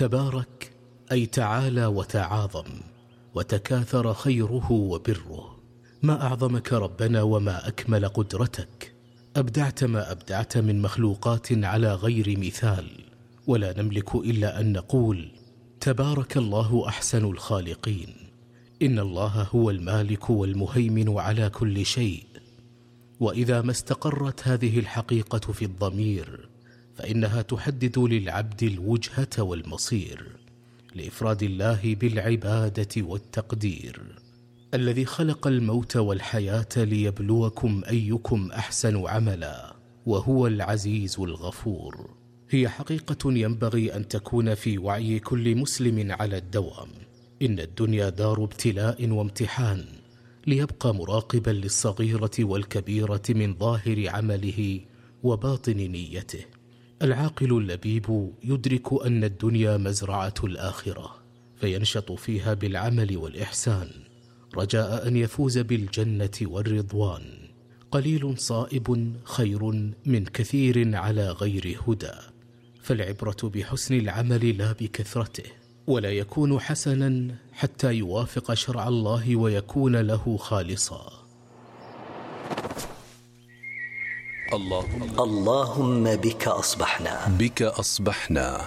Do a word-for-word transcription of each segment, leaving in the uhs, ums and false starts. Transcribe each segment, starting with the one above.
تبارك أي تعالى وتعاظم وتكاثر خيره وبره. ما أعظمك ربنا وما أكمل قدرتك. أبدعت ما أبدعت من مخلوقات على غير مثال، ولا نملك إلا أن نقول تبارك الله أحسن الخالقين. إن الله هو المالك والمهيمن على كل شيء. وإذا ما استقرت هذه الحقيقة في الضمير فإنها تحدد للعبد الوجهة والمصير لإفراد الله بالعبادة والتقدير. الذي خلق الموت والحياة ليبلوكم أيكم أحسن عملا، وهو العزيز الغفور. هي حقيقة ينبغي أن تكون في وعي كل مسلم على الدوام. إن الدنيا دار ابتلاء وامتحان، ليبقى مراقبا للصغيرة والكبيرة من ظاهر عمله وباطن نيته. العاقل اللبيب يدرك أن الدنيا مزرعة الآخرة، فينشط فيها بالعمل والإحسان رجاء أن يفوز بالجنة والرضوان. قليل صائب خير من كثير على غير هدى. فالعبرة بحسن العمل لا بكثرته، ولا يكون حسنا حتى يوافق شرع الله ويكون له خالصا. اللهم اللهم بك أصبحنا بك أصبحنا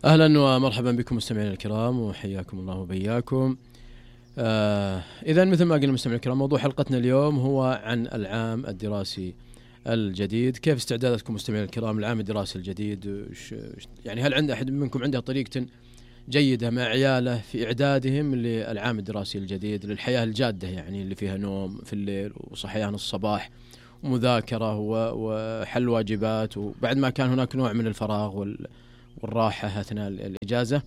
أهلا ومرحبا بكم مستمعينا الكرام، وحياكم الله وبياكم. آه إذا مثل ما قلنا مستمعينا الكرام، موضوع حلقتنا اليوم هو عن العام الدراسي الجديد. كيف استعداداتكم مستمعينا الكرام العام الدراسي الجديد؟ يعني هل عند أحد منكم عنده طريقة جيدة مع عياله في إعدادهم للعام الدراسي الجديد، للحياة الجادة يعني اللي فيها نوم في الليل وصحيان الصباح ومذاكرة وحل واجبات، وبعد ما كان هناك نوع من الفراغ والراحة أثناء الإجازة؟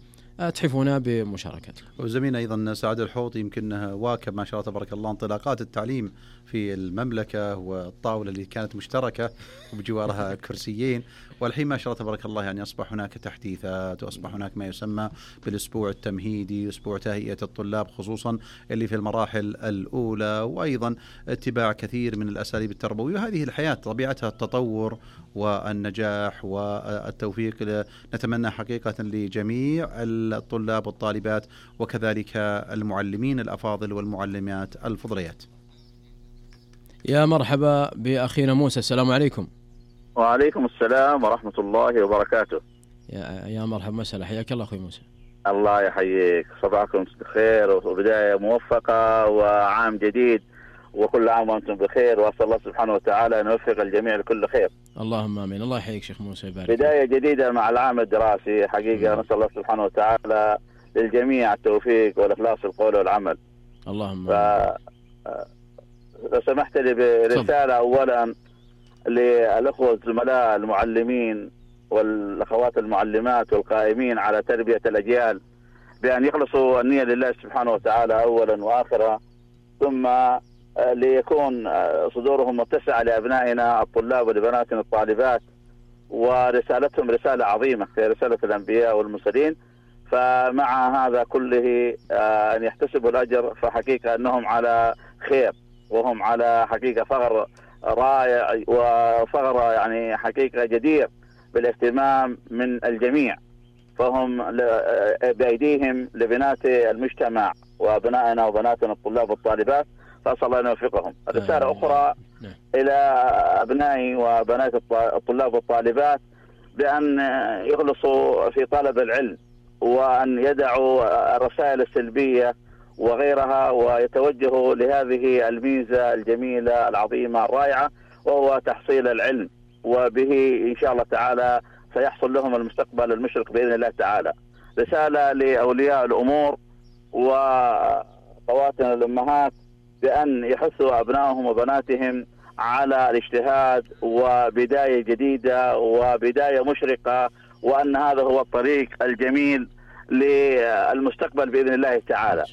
تحفونا بمشاركتكم. وزميلنا أيضا سعد الحوط يمكن واكب ما شاء الله تبارك الله انطلاقات التعليم في المملكة، والطاولة اللي كانت مشتركة وبجوارها كرسيين، والحين ما شاء الله تبارك الله يعني أصبح هناك تحديثات، وأصبح هناك ما يسمى بالأسبوع التمهيدي، أسبوع تهيئة الطلاب خصوصا اللي في المراحل الأولى، وأيضا اتباع كثير من الأساليب التربوية. وهذه الحياة طبيعتها التطور والنجاح والتوفيق. نتمنى حقيقة لجميع الطلاب والطالبات وكذلك المعلمين الأفاضل والمعلمات الفضليات. يا مرحبا بأخينا موسى، السلام عليكم. وعليكم السلام ورحمة الله وبركاته. يا يا مرحبا مساء، حياك الله أخوي موسى. الله يحييك، صباحكم بخير وبداية موفقة وعام جديد، وكل عام وأنتم بخير، وأسأل الله سبحانه وتعالى أن يوفق الجميع لكل خير. اللهم آمين. الله يحييك شيخ موسى، يبارك. بداية جديدة مع العام الدراسي حقيقة. نسأل الله سبحانه وتعالى للجميع التوفيق والإخلاص في القول والعمل. اللهم ف... لو سمحت لي برسالة أولا للأخوة الزملاء المعلمين والأخوات المعلمات والقائمين على تربية الأجيال بأن يخلصوا النية لله سبحانه وتعالى أولا وآخرا، ثم ليكون صدورهم متسعة لأبنائنا الطلاب ولبناتنا الطالبات، ورسالتهم رسالة عظيمة في رسالة الأنبياء والمرسلين. فمع هذا كله أن يحتسبوا الأجر، فحقيقة أنهم على خير، وهم على حقيقة فغر رائع وفغر يعني حقيقة جدير بالاهتمام من الجميع. فهم بأيديهم لبنات المجتمع وأبنائنا وبناتنا الطلاب والطالبات، فأسأل الله أن يوفقهم. رسالة أخرى إلى أبنائي وبنات الطلاب والطالبات بأن يخلصوا في طلب العلم، وأن يدعوا الرسائل السلبية وغيرها، ويتوجهوا لهذه الميزة الجميلة العظيمة الرائعة، وهو تحصيل العلم، وبه إن شاء الله تعالى سيحصل لهم المستقبل المشرق بإذن الله تعالى. رسالة لأولياء الأمور وخواتنا الأمهات بأن يحثوا أبنائهم وبناتهم على الاجتهاد وبداية جديدة وبداية مشرقة، وأن هذا هو الطريق الجميل للمستقبل بإذن الله تعالى.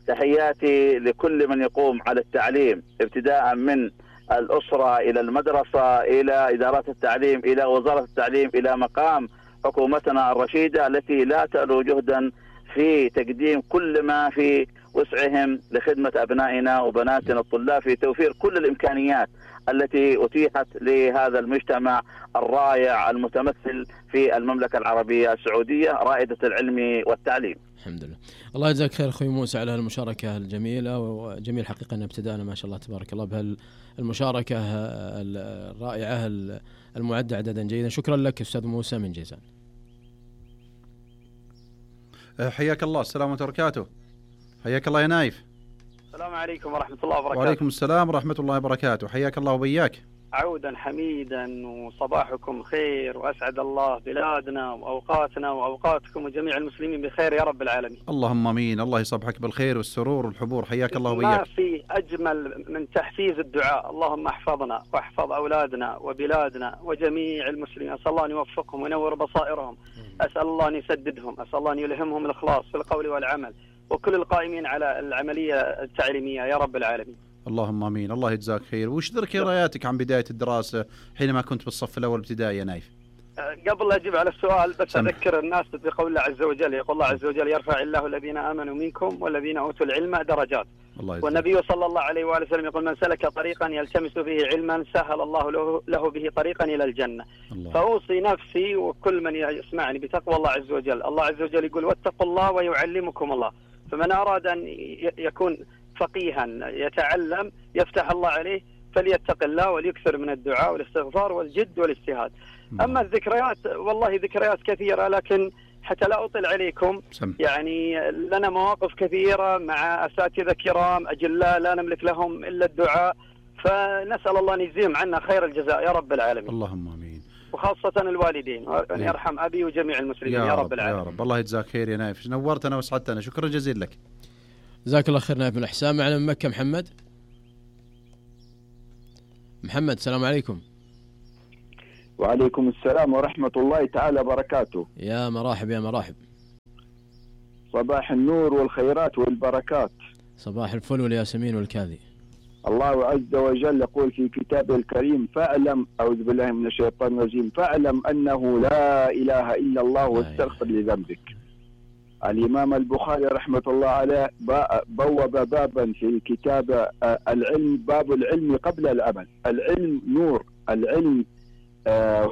تحياتي لكل من يقوم على التعليم، ابتداء من الأسرة إلى المدرسة إلى إدارات التعليم إلى وزارة التعليم إلى مقام حكومتنا الرشيدة التي لا تألو جهدا في تقديم كل ما في وسعهم لخدمة أبنائنا وبناتنا الطلاب، في توفير كل الإمكانيات التي أتيحت لهذا المجتمع الرائع المتمثل في المملكة العربية السعودية رائدة العلم والتعليم. الحمد لله. الله يجزاك خير أخوي موسى على المشاركة الجميلة، وجميل حقيقة أن ابتدأنا ما شاء الله تبارك الله بهالمشاركة الرائعة المعدة عددا جيدا. شكرا لك أستاذ موسى من جيزان. حياك الله. السلام عليكم وبركاته. حياك الله يا نايف. السلام عليكم ورحمة الله وبركاته. وعليكم السلام ورحمة الله وبركاته. حياك الله وبياك. عودا حميدا وصباحكم خير، وأسعد الله بلادنا وأوقاتنا وأوقاتكم وجميع المسلمين بخير يا رب العالمين. اللهم امين. الله يصبحك بالخير والسرور والحبور. حياك الله وبياك. ما في أجمل من تحفيز الدعاء. اللهم احفظنا واحفظ أولادنا وبلادنا وجميع المسلمين. أسأل الله أن يوفقهم وينور بصائرهم، أسأل الله أن يسددهم، أسأل الله أن يلهمهم الإخلاص في القول والعمل، وكل القائمين على العملية التعليمية يا رب العالمين. اللهم امين. الله يجزاك خير. وش ذكرياتك عن بداية الدراسة حينما كنت بالصف الأول ابتدائي يا نايف؟ قبل أجيب على السؤال بس سمح. أذكر الناس بقول الله عز وجل، يقول الله عز وجل: يرفع الله الذين آمنوا منكم والذين أوتوا العلم درجات. الله والنبي صلى الله عليه وآله وسلم يقول: من سلك طريقا يلتمس فيه علما سهل الله له, له به طريقا إلى الجنة. الله. فأوصي نفسي وكل من يسمعني بتقوى الله عز وجل. الله عز وجل يقول: واتقوا الله ويعلمكم الله. فمن أراد أن يكون فقيها يتعلم يفتح الله عليه فليتق الله وليكثر من الدعاء والاستغفار والجد والاجتهاد. أما الذكريات والله ذكريات كثيرة، لكن حتى لا أطل عليكم سم. يعني لنا مواقف كثيرة مع أساتذة كرام أجلاء لا نملك لهم إلا الدعاء، فنسأل الله أن يجزيهم عنا خير الجزاء يا رب العالمين. اللهم آمين. وخاصة الوالدين، وأن يرحم أبي وجميع المسلمين يا, يا رب, رب العالمين. يا رب. الله يجزاك خير يا نايف، نورتنا وسعدتنا. شكرا جزيلا لك. جزاك الله خير نايف من الإحسان. معنا من مكة محمد. محمد السلام عليكم. وعليكم السلام ورحمة الله تعالى وبركاته. يا مراحب يا مراحب. صباح النور والخيرات والبركات. صباح الفل والياسمين والكاذي. الله عز وجل يقول في كتابه الكريم: فاعلم، أعوذ بالله من الشيطان الرجيم، فاعلم أنه لا إله إلا الله واستغفر لذنبك. الإمام البخاري رحمة الله عليه بوب بابا في الكتاب العلم، باب العلم قبل العمل. العلم نور، العلم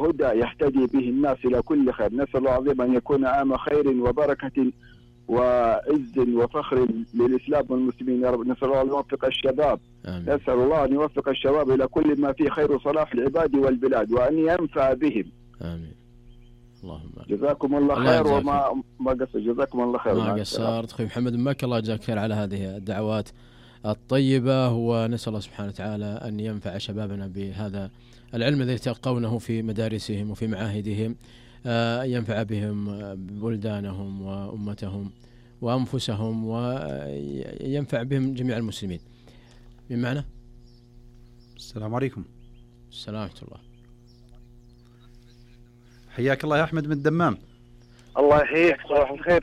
هدى يهتدي به الناس إلى كل خير. نسأل الله العظيم أن يكون عام خير وبركة وعز وفخر للإسلام والمسلمين يا رب. نسأل الله أن يوفق الشباب. آمين. نسأل الله أن يوفق الشباب إلى كل ما فيه خير وصلاح العباد والبلاد، وأن ينفع بهم. آمين. اللهم جزاكم الله, الله خير. وما ما قصر. جزاكم الله خير. ما قصرت أخوي محمد من مكة. الله يجزاك خير على هذه الدعوات الطيبة، ونسأل الله سبحانه وتعالى أن ينفع شبابنا بهذا العلم الذي يتلقونه في مدارسهم وفي معاهدهم، أن ينفع بهم بلدانهم وأمتهم وأنفسهم، وينفع بهم جميع المسلمين. من معنا؟ السلام عليكم. السلام ورحمة الله. حياك الله يا أحمد من الدمام. الله يحييك. صباح الخير.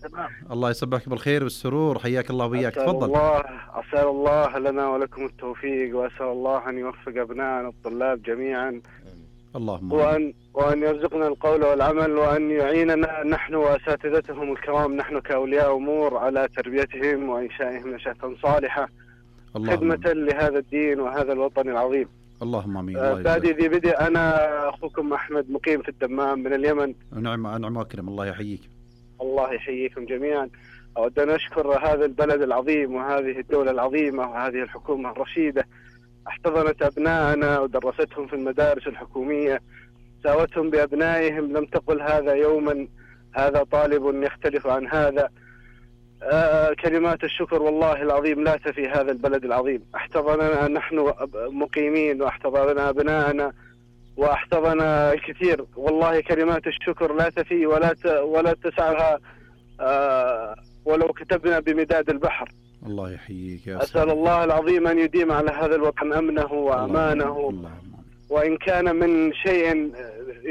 الله يصبحك بالخير والسرور. حياك الله وياك. تفضل. الله أسأل الله لنا ولكم التوفيق، وأسأل الله أن يوفق أبنائنا الطلاب جميعا. اللهم وأن وأن يرزقنا القول والعمل، وأن يعيننا نحن وأساتذتهم الكرام، نحن كأولياء أمور، على تربيتهم وإنشائهم نشأة صالحة خدمة لهذا الدين وهذا الوطن العظيم. اللهم امين. آه بعد ذي بدء انا اخوكم احمد مقيم في الدمام من اليمن. نعم نعم واكرم. الله يحييك. الله يحييكم جميعا. اود ان اشكر هذا البلد العظيم وهذه الدولة العظيمة وهذه الحكومة الرشيدة، احتضنت ابنائنا ودرستهم في المدارس الحكومية، ساوتهم بابنائهم، لم تقل هذا يوما هذا طالب يختلف عن هذا. آه كلمات الشكر والله العظيم لا تفي هذا البلد العظيم. احتضننا نحن مقيمين، واحتضننا أبناءنا، واحتضننا الكثير. والله كلمات الشكر لا تفي ولا ت... ولا تسعها آه ولو كتبنا بمداد البحر. الله يحييك يا أسأل الله العظيم أن يديم على هذا الوطن أمنه وأمانه، وإن كان من شيء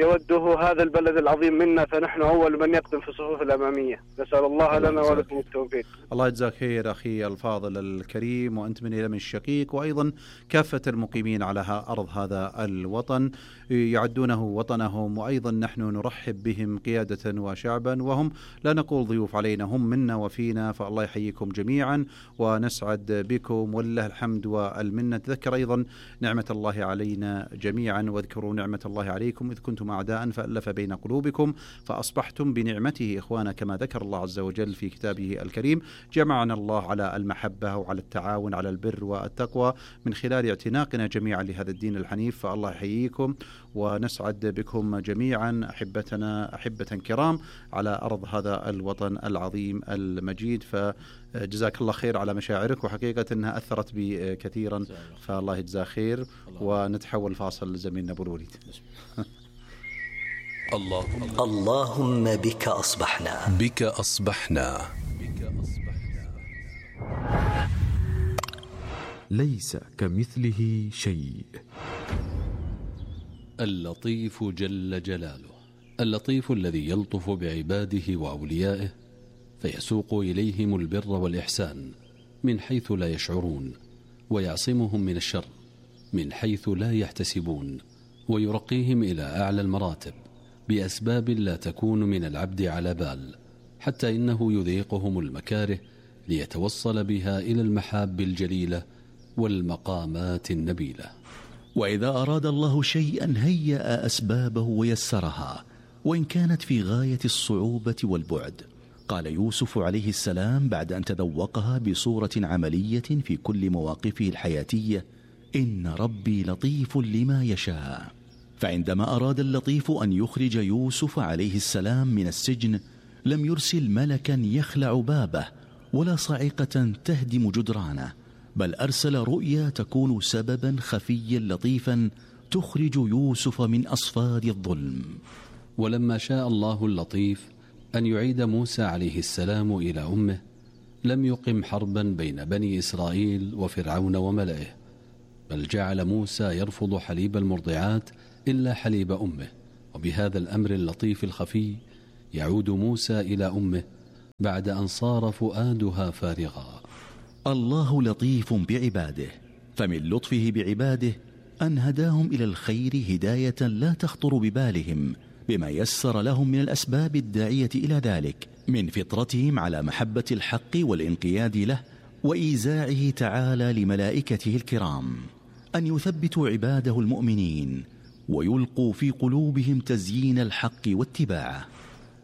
يوده هذا البلد العظيم منا فنحن أول من يقدم في الصفوف الأمامية. نسأل الله لنا ولكم التوفيق. الله يجزاك خير أخي الفاضل الكريم، وأنت من اليمن الشقيق، وأيضا كافة المقيمين على أرض هذا الوطن يعدونه وطنهم، وأيضا نحن نرحب بهم قيادة وشعبا، وهم لا نقول ضيوف علينا، هم منا وفينا، فالله يحييكم جميعا ونسعد بكم ولله الحمد والمنة. تذكر أيضا نعمة الله علينا جميعا، واذكروا نعمة الله عليكم إذ كنتم أعداء فألف بين قلوبكم فأصبحتم بنعمته إخوانا، كما ذكر الله عز وجل في كتابه الكريم. جمعنا الله على المحبة وعلى التعاون على البر والتقوى من خلال اعتناقنا جميعا لهذا الدين الحنيف، فالله يحييكم ونسعد بكم جميعا أحبتنا أحبة كرام على أرض هذا الوطن العظيم المجيد. فجزاك الله خير على مشاعرك، وحقيقة أنها أثرت بي كثيرا، فالله يجزاه خير. ونتحول فاصل لزميلنا أبو الوليد. اللهم اللهم بك أصبحنا بك أصبحنا ليس كمثله شيء. اللطيف جل جلاله، اللطيف الذي يلطف بعباده وأوليائه فيسوق إليهم البر والإحسان من حيث لا يشعرون، ويعصمهم من الشر من حيث لا يحتسبون، ويرقيهم إلى أعلى المراتب بأسباب لا تكون من العبد على بال، حتى إنه يذيقهم المكاره ليتوصل بها إلى المحاب الجليلة والمقامات النبيلة. وإذا أراد الله شيئا هيأ أسبابه ويسرها، وإن كانت في غاية الصعوبة والبعد. قال يوسف عليه السلام بعد أن تذوقها بصورة عملية في كل مواقفه الحياتية: إن ربي لطيف لما يشاء. فعندما أراد اللطيف أن يخرج يوسف عليه السلام من السجن لم يرسل ملكا يخلع بابه ولا صاعقة تهدم جدرانه، بل أرسل رؤيا تكون سببا خفيا لطيفا تخرج يوسف من أصفاد الظلم. ولما شاء الله اللطيف أن يعيد موسى عليه السلام إلى أمه لم يقم حربا بين بني إسرائيل وفرعون وملئه، بل جعل موسى يرفض حليب المرضعات إلا حليب أمه. وبهذا الأمر اللطيف الخفي يعود موسى إلى أمه بعد أن صار فؤادها فارغا. الله لطيف بعباده، فمن لطفه بعباده أن هداهم إلى الخير هداية لا تخطر ببالهم، بما يسر لهم من الأسباب الداعية إلى ذلك، من فطرتهم على محبة الحق والانقياد له، وإيزاعه تعالى لملائكته الكرام أن يثبتوا عباده المؤمنين ويلقوا في قلوبهم تزيين الحق واتباعه.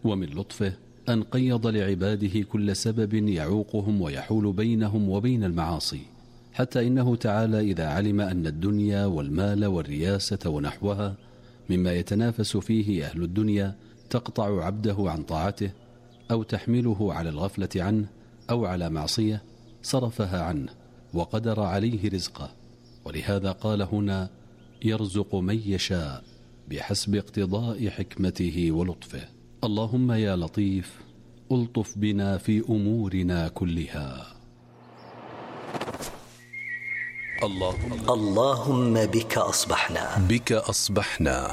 ومن لطفه أن قيض لعباده كل سبب يعوقهم ويحول بينهم وبين المعاصي، حتى إنه تعالى إذا علم أن الدنيا والمال والرياسة ونحوها مما يتنافس فيه أهل الدنيا تقطع عبده عن طاعته أو تحمله على الغفلة عنه أو على معصية، صرفها عنه وقدر عليه رزقه. ولهذا قال هنا: يرزق من يشاء بحسب اقتضاء حكمته ولطفه. اللهم يا لطيف ألطف بنا في أمورنا كلها. اللهم اللهم بك أصبحنا بك أصبحنا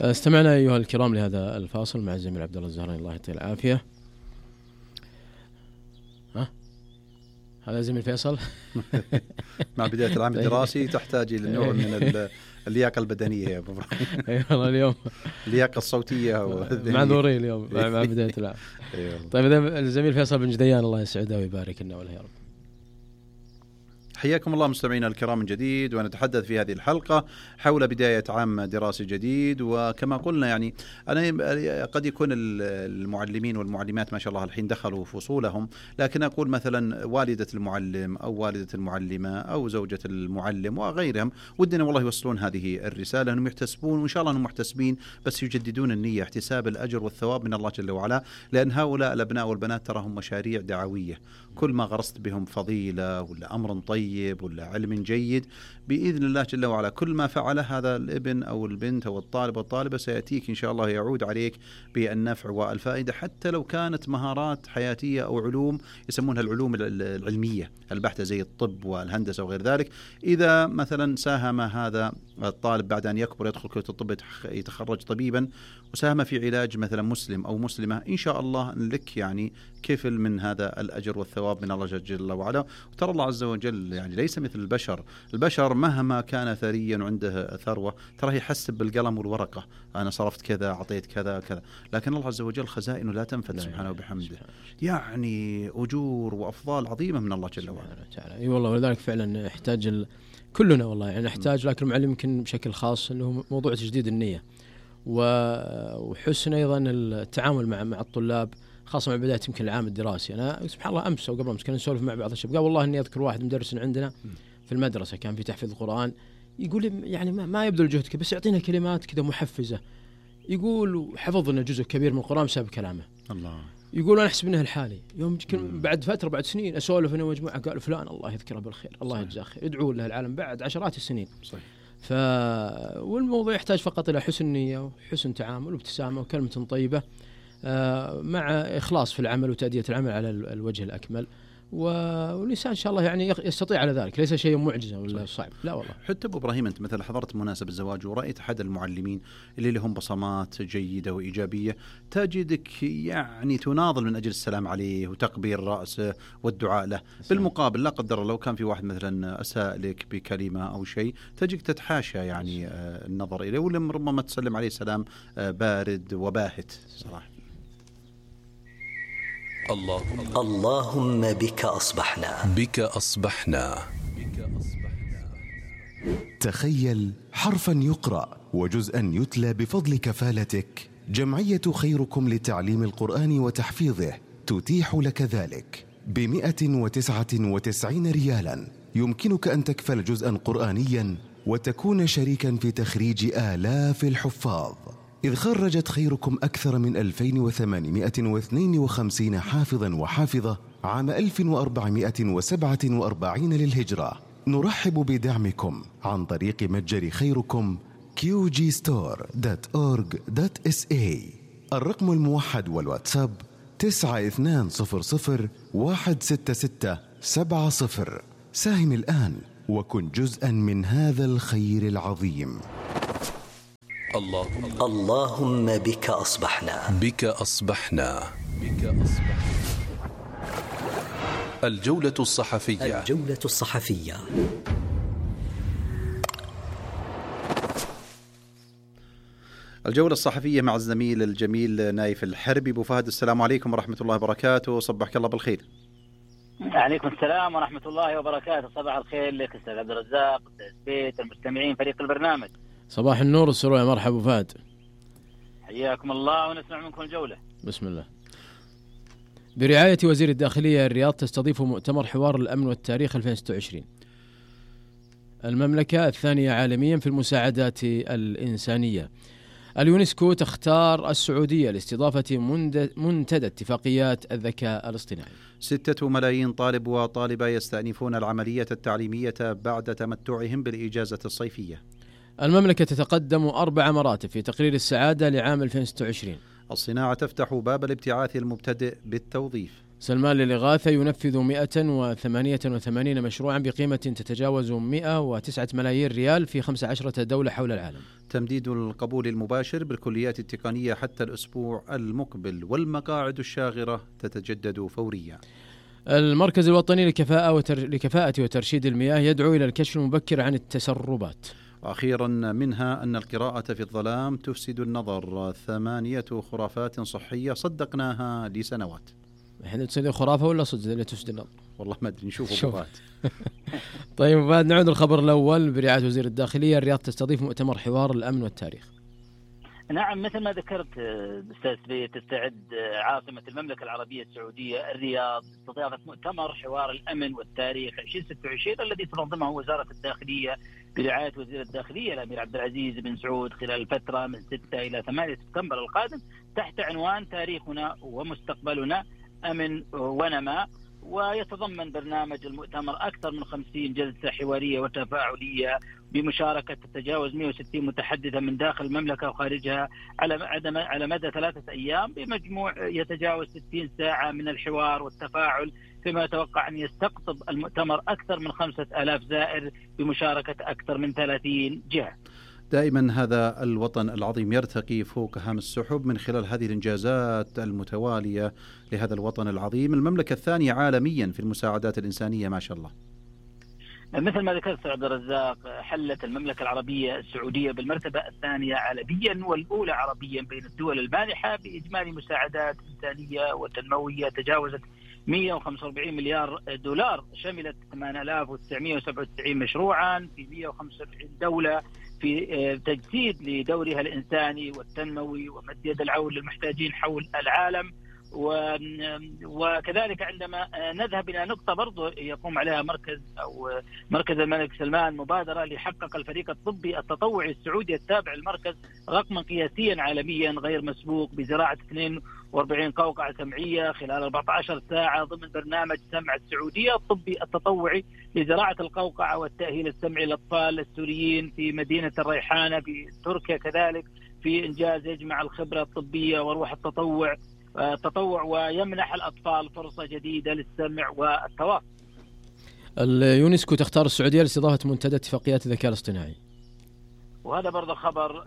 استمعنا أيها الكرام لهذا الفاصل مع الزميل عبد الله الزهراني، الله يعطيه العافية. ها هذا زميل فيصل. مع بداية العام الدراسي تحتاج إلى نوع من اللياقة البدنية يا أبو إبراهيم. أي والله اليوم اللياقة الصوتية معذورين اليوم مع بداية العام. طيب إذا الزميل فيصل بن جديان الله يسعده ويبارك لنا وله يا رب. حياكم الله مستمعينا الكرام من جديد، ونتحدث في هذه الحلقة حول بداية عام دراسي جديد. وكما قلنا يعني أنا قد يكون المعلمين والمعلمات ما شاء الله الحين دخلوا فصولهم، لكن أقول مثلا والدة المعلم أو والدة المعلمة أو زوجة المعلم وغيرهم ودنا والله يوصلون هذه الرسالة، أنهم يحتسبون، وإن شاء الله أنهم محتسبين، بس يجددون النية، احتساب الأجر والثواب من الله جل وعلا، لأن هؤلاء الأبناء والبنات تراهم مشاريع دعوية. كل ما غرست بهم فضيلة ولا أمر طيب طيب ولا علم جيد بإذن الله جل وعلا كل ما فعله هذا الابن أو البنت أو الطالب والطالبة سيأتيك إن شاء الله يعود عليك بالنفع والفائدة، حتى لو كانت مهارات حياتية أو علوم يسمونها العلوم العلمية البحتة زي الطب والهندسة وغير ذلك. إذا مثلا ساهم هذا الطالب بعد أن يكبر يدخل كلية الطب يتخرج طبيبا وساهم في علاج مثلا مسلم أو مسلمة، إن شاء الله لك يعني كفل من هذا الأجر والثواب من الله جل وعلا. وترى الله عز وجل يعني ليس مثل البشر، البشر مهما كان ثريا وعنده ثروة ترى يحسب بالقلم والورقة، أنا صرفت كذا أعطيت كذا كذا، لكن الله عز وجل خزائنه لا تنفد سبحانه وبحمده، يعني أجور وأفضال عظيمة من الله جل وعلا. اي والله، ولذلك فعلا يحتاج ال... كلنا والله يعني نحتاج، لكن المعلم يمكن بشكل خاص انه موضوع تجديد النية وحسن ايضا التعامل مع مع الطلاب، خاصة مع بداية يمكن العام الدراسي. أنا سبحان الله أمس أو قبل أمس كنا نسولف مع بعض الشباب، قال والله إني أذكر واحد مدرس عندنا في المدرسة كان في تحفيظ القرآن، يقول يعني ما, ما يبذل جهد بس يعطينا كلمات كذا محفزة، يقول حفظنا جزء كبير من القرآن بسبب كلامه. الله. يقول أنا أحسب إنه الحالي يوم بعد فترة بعد سنين أسولف أنا ومجموعة قال فلان الله يذكره بالخير الله يجزاه خير، يدعو له العالم بعد عشرات السنين. صحيح. ف والموضوع يحتاج فقط إلى حسن نية وحسن تعامل وابتسامة وكلمة طيبة مع إخلاص في العمل وتأدية العمل على الوجه الأكمل، والإنسان إن شاء الله يعني يستطيع على ذلك، ليس شيء معجزة ولا صعب، لا والله. حتى أبو إبراهيم أنت مثلا حضرت مناسبة الزواج ورأيت أحد المعلمين اللي لهم بصمات جيدة وإيجابية، تجدك يعني تناضل من أجل السلام عليه وتقبيل رأسه والدعاء له. بالمقابل لا قدر لو كان في واحد مثلا أساء لك بكلمة أو شيء تجدك تتحاشى يعني النظر إليه، ولم ربما تسلم عليه سلام بارد وباهت صراحة. اللهم اللهم بك أصبحنا بك أصبحنا تخيل حرفا يقرأ وجزءا يتلى بفضل كفالتك. جمعية خيركم لتعليم القرآن وتحفيظه تتيح لك ذلك بمئة وتسعة وتسعين ريالا. يمكنك أن تكفل جزءا قرآنيا وتكون شريكا في تخريج آلاف الحفاظ، إذ خرجت خيركم أكثر من ألفين وثمانمئة واثنين وخمسين حافظا وحافظة عام ألف وأربعمئة وسبعة وأربعين للهجرة. نرحب بدعمكم عن طريق متجر خيركم كيو جي ستور دوت أورغ دوت إس إيه. الرقم الموحد والواتساب تسعة اثنان صفر صفر واحد ستة ستة سبعة صفر. ساهم الآن وكن جزءا من هذا الخير العظيم. اللهم اللهم بك أصبحنا بك أصبحنا بك أصبحنا. الجولة الصحفية الجولة الصحفية. الجولة الصحفية مع الزميل الجميل نايف الحربي. أبو فهد السلام عليكم ورحمة الله وبركاته، صبحك الله بالخير. عليكم السلام ورحمة الله وبركاته، صباح الخير لك أستاذ عبد الرزاق، أستاذ بيت، المستمعين، فريق البرنامج. صباح النور والسرور، مرحبا أبو فهد. حياكم الله ونسمع منكم الجولة. بسم الله. برعاية وزير الداخلية الرياض تستضيف مؤتمر حوار الأمن والتاريخ ألفين وستة وعشرين. المملكة الثانية عالميا في المساعدات الإنسانية. اليونسكو تختار السعودية لاستضافة منتدى اتفاقيات الذكاء الاصطناعي. ستة ملايين طالب وطالبة يستأنفون العملية التعليمية بعد تمتعهم بالإجازة الصيفية. المملكة تتقدم أربع مراتب في تقرير السعادة لعام ألفين وستة وعشرين. الصناعة تفتح باب الابتعاث المبتدئ بالتوظيف. سلمان للإغاثة ينفذ مئة وثمانية وثمانين مشروعا بقيمة تتجاوز مئة وتسعة ملايين ريال في خمس عشرة دولة حول العالم. تمديد القبول المباشر بالكليات التقنية حتى الأسبوع المقبل، والمقاعد الشاغرة تتجدد فوريا. المركز الوطني لكفاءة, وتر... لكفاءة وترشيد المياه يدعو إلى الكشف المبكر عن التسربات. وأخيرا منها أن القراءة في الظلام تفسد النظر، ثمانية خرافات صحية صدقناها لسنوات. احنا تصدق خرافة ولا صدق اللي تفسد النظر؟ والله ما أدري، نشوفه بعد. طيب بعد نعود الخبر الأول. برعاية وزير الداخلية الرياض تستضيف مؤتمر حوار الأمن والتاريخ. نعم، مثل ما ذكرت أستاذ بيت، تستعد عاصمة المملكة العربية السعودية الرياض لاستضافة مؤتمر حوار الأمن والتاريخ ألفين وستة وعشرين الذي تنظمه وزارة الداخلية برعاية وزير الداخلية الأمير عبد العزيز بن سعود خلال الفترة من ستة إلى ثمانية سبتمبر القادم، تحت عنوان تاريخنا ومستقبلنا، أمن ونماء. ويتضمن برنامج المؤتمر أكثر من خمسين جلسة حوارية وتفاعلية بمشاركة تتجاوز مئة وستين متحدثا من داخل المملكة وخارجها على على مدى ثلاثة أيام، بمجموع يتجاوز ستين ساعة من الحوار والتفاعل، فيما يتوقع أن يستقطب المؤتمر أكثر من خمسة آلاف زائر بمشاركة أكثر من ثلاثين جهة. دائما هذا الوطن العظيم يرتقي فوق هام السحب من خلال هذه الإنجازات المتوالية لهذا الوطن العظيم، المملكة الثانية عالميا في المساعدات الإنسانية ما شاء الله. مثل ما ذكرت عبد الرزاق، حلت المملكة العربية السعودية بالمرتبة الثانية عالميا والأولى عربيا بين الدول المانحة بإجمالي مساعدات إنسانية وتنموية تجاوزت مئة وخمسة وأربعين مليار دولار، شملت ثمانية آلاف وتسعمئة وسبعة وتسعين مشروعا في مئة وخمسة وسبعين دولة في تجسيد لدورها الإنساني والتنموي ومد يد العون للمحتاجين حول العالم. وكذلك عندما نذهب إلى نقطة برضو يقوم عليها مركز أو مركز الملك سلمان، مبادرة ليحقق الفريق الطبي التطوعي السعودي التابع للمركز رقما قياسيا عالميا غير مسبوق بزراعة اثنين وأربعين قوقعة سمعية خلال أربعة عشر ساعة ضمن برنامج سمع السعودية الطبي التطوعي لزراعة القوقعة والتأهيل السمعي للأطفال السوريين في مدينة الريحانة بتركيا، كذلك في إنجاز يجمع الخبرة الطبية وروح التطوع التطوع ويمنح الأطفال فرصة جديدة للسمع والتواصل. اليونسكو تختار السعودية لاستضافة منتدى اتفاقيات الذكاء الاصطناعي، وهذا برضه خبر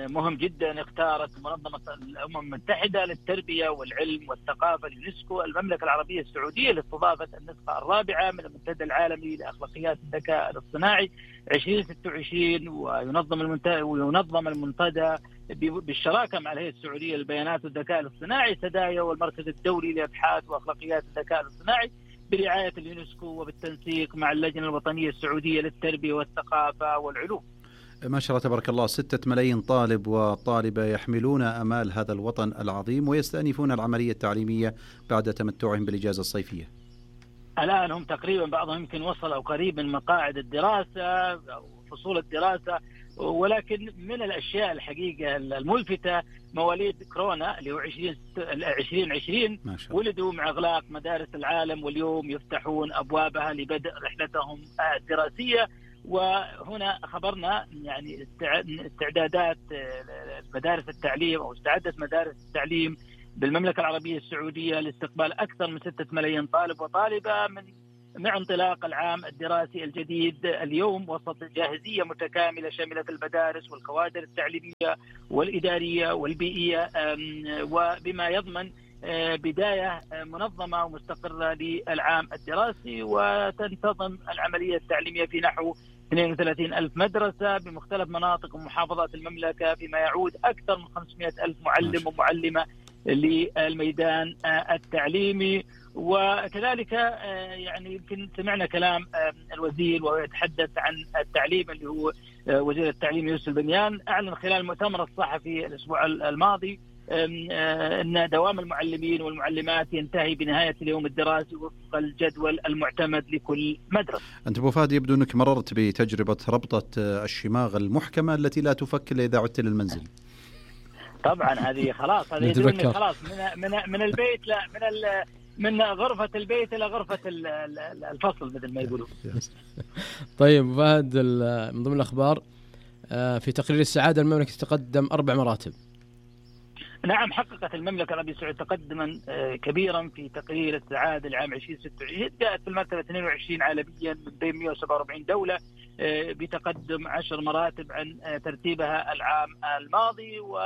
مهم جدا. اختارت منظمة الأمم المتحدة للتربية والعلم والثقافة اليونسكو المملكة العربية السعودية لاستضافة النسخة الرابعة من المنتدى العالمي لأخلاقيات الذكاء الاصطناعي عشرين ستة وعشرين، وينظم المنتدى وينظم المنتدى بالشراكة مع الهيئة السعودية للبيانات والذكاء الاصطناعي سدايا والمركز الدولي لأبحاث وأخلاقيات الذكاء الاصطناعي برعاية اليونسكو وبالتنسيق مع اللجنة الوطنية السعودية للتربية والثقافة والعلوم. ما شاء الله تبارك الله، ستة ملايين طالب وطالبة يحملون أمال هذا الوطن العظيم ويستأنفون العملية التعليمية بعد تمتعهم بالإجازة الصيفية. الآن هم تقريبا بعضهم يمكن وصلوا قريب من مقاعد الدراسة أو فصول الدراسة، ولكن من الأشياء الحقيقة الملفتة مواليد كورونا اللي هو عشرين عشرين ولدوا مع إغلاق مدارس العالم، واليوم يفتحون أبوابها لبدء رحلتهم الدراسية. وهنا خبرنا يعني استعدادات مدارس التعليم أو استعدت مدارس التعليم بالمملكة العربية السعودية لاستقبال أكثر من ستة ملايين طالب وطالبة من مع انطلاق العام الدراسي الجديد اليوم، وسط جاهزية متكاملة شملت المدارس والكوادر التعليمية والإدارية والبيئية، وبما يضمن بداية منظمة ومستقرة للعام الدراسي. وتنتظم العملية التعليمية في نحو اثنين وثلاثين ألف مدرسة بمختلف مناطق ومحافظات المملكة، فيما يعود أكثر من خمسمئة ألف معلم ومعلمة للميدان التعليمي. وكذلك يعني يمكن سمعنا كلام الوزير وهو يتحدث عن التعليم اللي هو وزير التعليم يوسف البنيان، أعلن خلال المؤتمر الصحفي الأسبوع الماضي أن دوام المعلمين والمعلمات ينتهي بنهاية اليوم الدراسي وفق الجدول المعتمد لكل مدرسة. أنت أبو فهد يبدو أنك مررت بتجربة ربطة الشماغ المحكمة التي لا تفك إلا إذا عدت للمنزل. طبعا هذه خلاص هذه يدرون خلاص من من من البيت لا من من غرفة البيت إلى غرفة الفصل مثل ما يقولون. طيب فهد، من ضمن الأخبار في تقرير السعادة المملكة تقدم أربع مراتب. نعم، حققت المملكة العربية السعودية تقدما كبيرا في تقرير السعادة العام عشرين ستة وعشرين، جاءت في المرتبة اثنين وعشرين عالميا من بين مئة وسبعة وأربعين دولة بتقدم عشر مراتب عن ترتيبها العام الماضي. و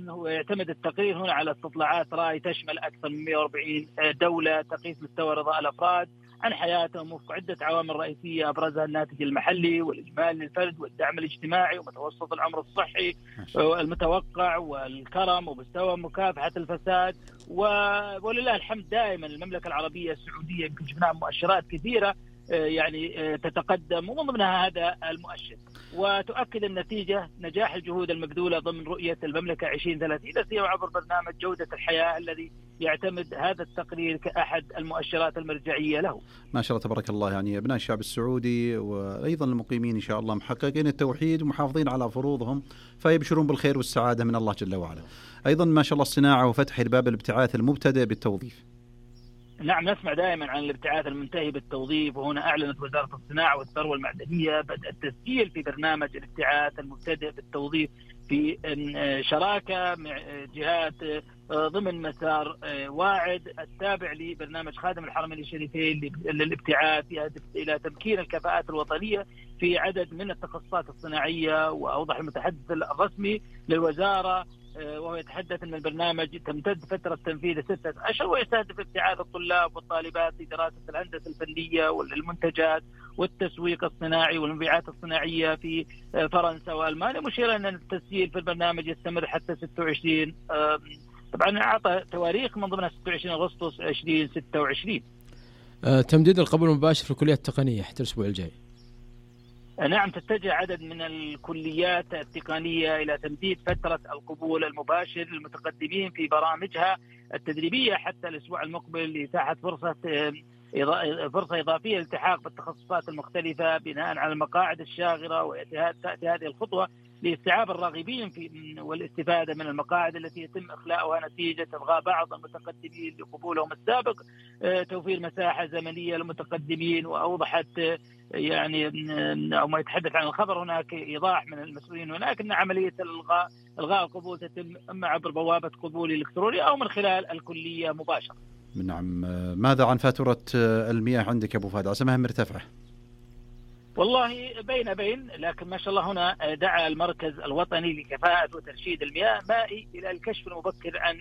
هو يعتمد التقرير هنا على استطلاعات رأي تشمل أكثر من مئة وأربعين دولة، تقيس مستوى رضاء الأفراد عن حياتهم وفق عدة عوامل رئيسية أبرزها الناتج المحلي والإجمال للفرد والدعم الاجتماعي ومتوسط العمر الصحي والمتوقع والكرم ومستوى مكافحة الفساد. ولله الحمد دائما المملكة العربية السعودية يمكن شفناها مؤشرات كثيرة يعني تتقدم ومن ضمنها هذا المؤشر، وتؤكد النتيجة نجاح الجهود المبذولة ضمن رؤية المملكة عشرين ثلاثين لا سيما عبر برنامج جودة الحياة الذي يعتمد هذا التقرير كأحد المؤشرات المرجعية له. ما شاء الله تبارك الله، يعني أبناء الشعب السعودي وأيضا المقيمين إن شاء الله محققين التوحيد ومحافظين على فروضهم، فيبشرون بالخير والسعادة من الله جل وعلا. أيضا ما شاء الله الصناعة وفتح الباب الابتعاث المبتدئ بالتوظيف. نعم نسمع دائما عن الابتعاث المنتهي بالتوظيف، وهنا أعلنت وزارة الصناعة والثروة المعدنية بدء التسجيل في برنامج الابتعاث المبتدئ بالتوظيف في شراكة مع جهات ضمن مسار واعد التابع لبرنامج خادم الحرمين الشريفين للابتعاث يهدف إلى تمكين الكفاءات الوطنية في عدد من التخصصات الصناعية. وأوضح المتحدث الرسمي للوزارة وهو يتحدث أن البرنامج تمتد فترة تنفيذه ستة أشهر ويستهدف ابتعاث الطلاب والطالبات في دراسة الهندسة الفنية والمنتجات والتسويق الصناعي والمبيعات الصناعية في فرنسا وألمانيا، مشيرا أن التسجيل في البرنامج يستمر حتى ستة وعشرين، طبعا أعطى تواريخ من ضمنها ستة وعشرين أغسطس ألفين وستة وعشرين. تمديد القبول المباشر في الكليات التقنية حتى الأسبوع الجاي. نعم تتجه عدد من الكليات التقنية إلى تمديد فترة القبول المباشر للمتقدمين في برامجها التدريبية حتى الأسبوع المقبل لإتاحة فرصة فرصة إضافية للالتحاق بالتخصصات المختلفة بناء على المقاعد الشاغرة. وتأتي هذه الخطوة لاستيعاب الراغبين في والاستفادة من المقاعد التي يتم إخلاؤها نتيجة إلغاء بعض المتقدمين لقبولهم السابق، توفير مساحة زمنية للمتقدمين. وأوضحت يعني أو ما يتحدث عن الخبر هناك إيضاح من المسؤولين هناك أن عملية الإلغاء إلغاء القبول تتم إما عبر بوابة قبول إلكتروني أو من خلال الكلية مباشرة. نعم. ماذا عن فاتورة المياه عندك أبو فهد؟ عسمها مرتفعة. والله بين بين لكن ما شاء الله هنا دعا المركز الوطني لكفاءة وترشيد المياه المائي إلى الكشف المبكر عن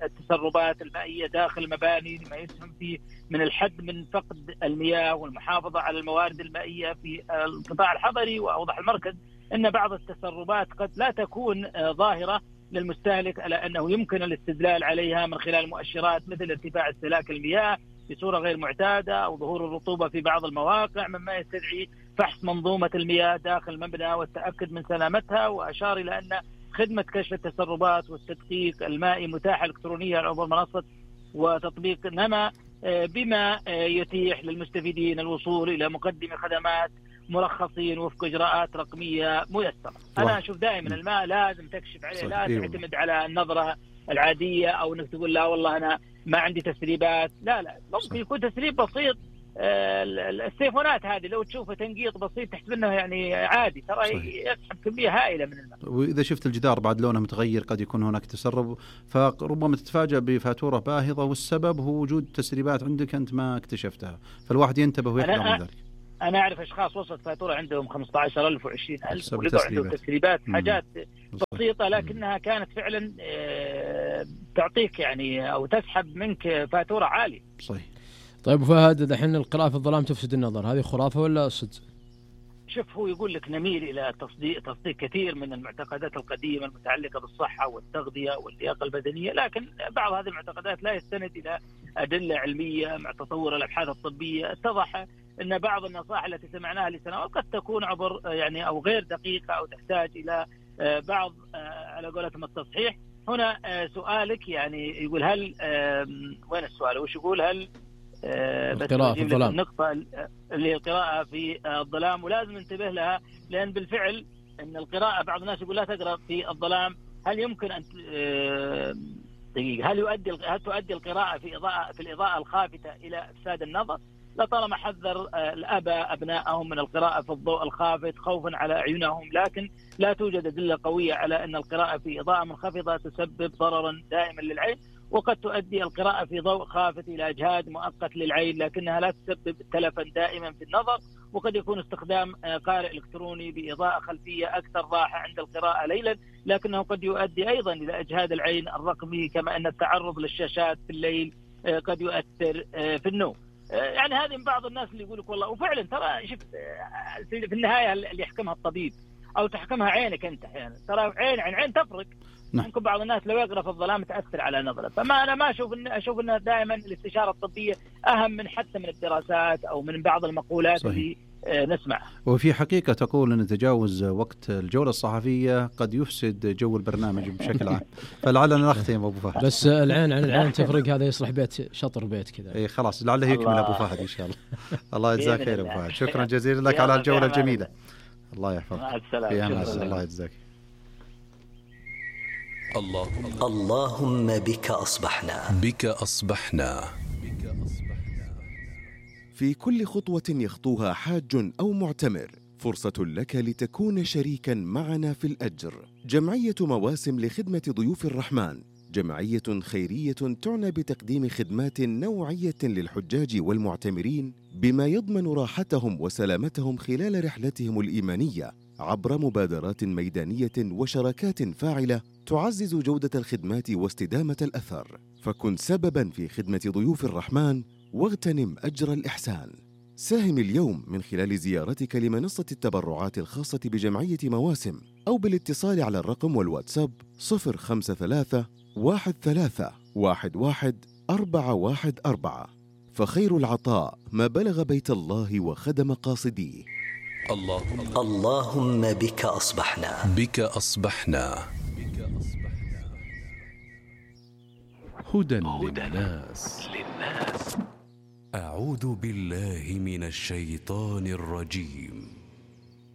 التسربات المائية داخل المباني لما يسهم فيه من الحد من فقد المياه والمحافظة على الموارد المائية في القطاع الحضري. وأوضح المركز أن بعض التسربات قد لا تكون ظاهرة للمستهلك على أنه يمكن الاستدلال عليها من خلال مؤشرات مثل ارتفاع استهلاك المياه بصورة غير معتادة أو ظهور الرطوبة في بعض المواقع، مما يستدعي فحص منظومة المياه داخل المبنى والتأكد من سلامتها. وأشار إلى أن خدمة كشف التسربات والتدقيق المائي متاحة إلكترونيا عبر منصة وتطبيق نما، بما يتيح للمستفيدين الوصول إلى مقدم خدمات مرخصين وفق إجراءات رقمية ميسرة. أنا أشوف دائما الماء لازم تكشف عليه، لا تعتمد على النظرة العادية أو أنك تقول لا والله أنا ما عندي تسريبات. لا لا ممكن يكون تسريب بسيط. السيفونات هذه لو تشوفه تنقيط بسيط تحسب انه يعني عادي، ترى يسحب كميه هائله من الماء. واذا شفت الجدار بعد لونه متغير قد يكون هناك تسرب، فربما تتفاجأ بفاتوره باهظه والسبب هو وجود تسريبات عندك انت ما اكتشفتها، فالواحد ينتبه ويحذر من ذلك. انا اعرف اشخاص وصلت فاتوره عندهم خمسة عشر ألف وعشرين ألف ولقوا عندهم تسريبات حاجات بسيطه لكنها كانت فعلا تعطيك يعني او تسحب منك فاتوره عاليه. صحيح. طيب فهد دحين القراءة في الظلام تفسد النظر، هذه خرافة ولا صدق؟ شوف هو يقول لك نميل إلى تصديق تصديق كثير من المعتقدات القديمة المتعلقة بالصحة والتغذية واللياقة البدنية، لكن بعض هذه المعتقدات لا يستند إلى أدلة علمية. مع تطور الأبحاث الطبية اتضح أن بعض النصائح التي سمعناها لسنوات قد تكون عبر يعني أو غير دقيقة أو تحتاج إلى بعض على قولتهم التصحيح. هنا سؤالك يعني يقول هل وين السؤال؟ وش يقول؟ هل القراءة في الظلام، النقطة اللي القراءة في الظلام، ولازم ننتبه لها لأن بالفعل أن القراءة بعض الناس يقول لا تقرأ في الظلام. هل يمكن أن دقيقة هل يؤدي هل تؤدي القراءة في إضاءة في الإضاءة الخافتة إلى إفساد النظر؟ لطالما حذر الآباء أبنائهم من القراءة في الضوء الخافت خوفا على أعينهم، لكن لا توجد أدلة قوية على أن القراءة في إضاءة منخفضة تسبب ضررا دائما للعين، وقد تؤدي القراءة في ضوء خافت إلى إجهاد مؤقت للعين لكنها لا تسبب تلفا دائما في النظر. وقد يكون استخدام قارئ إلكتروني بإضاءة خلفية أكثر راحة عند القراءة ليلا، لكنه قد يؤدي أيضا إلى إجهاد العين الرقمي، كما أن التعرض للشاشات في الليل قد يؤثر في النوم. يعني هذه من بعض الناس اللي يقولك والله، وفعلا ترى شفت في النهاية اللي يحكمها الطبيب أو تحكمها عينك أنت أحيانا، ترى عين عن عين تفرق. ممكن بعض الناس لو يقرأ في الظلام تأثر على نظره، فما أنا ما أشوف إن أشوف إن دائما الاستشارة الطبية أهم من حتى من الدراسات أو من بعض المقولات صحيح. اللي نسمع. وفي حقيقة تقول أن تجاوز وقت الجولة الصحفية قد يفسد جو البرنامج بشكل عام، فلعلنا نختم أبو فهد. بس العين عن العين تفرق، هذا يصلح بيت شطر بيت كذا. إيه خلاص لعله يكمل أبو فهد إن شاء الله. الله يجزاك خير أبو فهد، شكرا جزيلا لك على الجولة الجميلة. الله يحفظك. مع السلامة. الله يجزاك. الله اللهم بك أصبحنا بك أصبحنا في كل خطوة يخطوها حاج أو معتمر فرصة لك لتكون شريكا معنا في الأجر. جمعية مواسم لخدمة ضيوف الرحمن جمعية خيرية تعنى بتقديم خدمات نوعية للحجاج والمعتمرين بما يضمن راحتهم وسلامتهم خلال رحلتهم الإيمانية عبر مبادرات ميدانية وشراكات فاعلة تعزز جودة الخدمات واستدامة الأثر. فكن سبباً في خدمة ضيوف الرحمن واغتنم أجر الإحسان. ساهم اليوم من خلال زيارتك لمنصة التبرعات الخاصة بجمعية مواسم أو بالاتصال على الرقم والواتساب صفر خمسة ثلاثة واحد ثلاثة واحد واحد أربعة واحد أربعة. فخير العطاء ما بلغ بيت الله وخدم قاصديه. اللهم اللهم بك أصبحنا بك أصبحنا هدى للناس. أعوذ بالله من الشيطان الرجيم.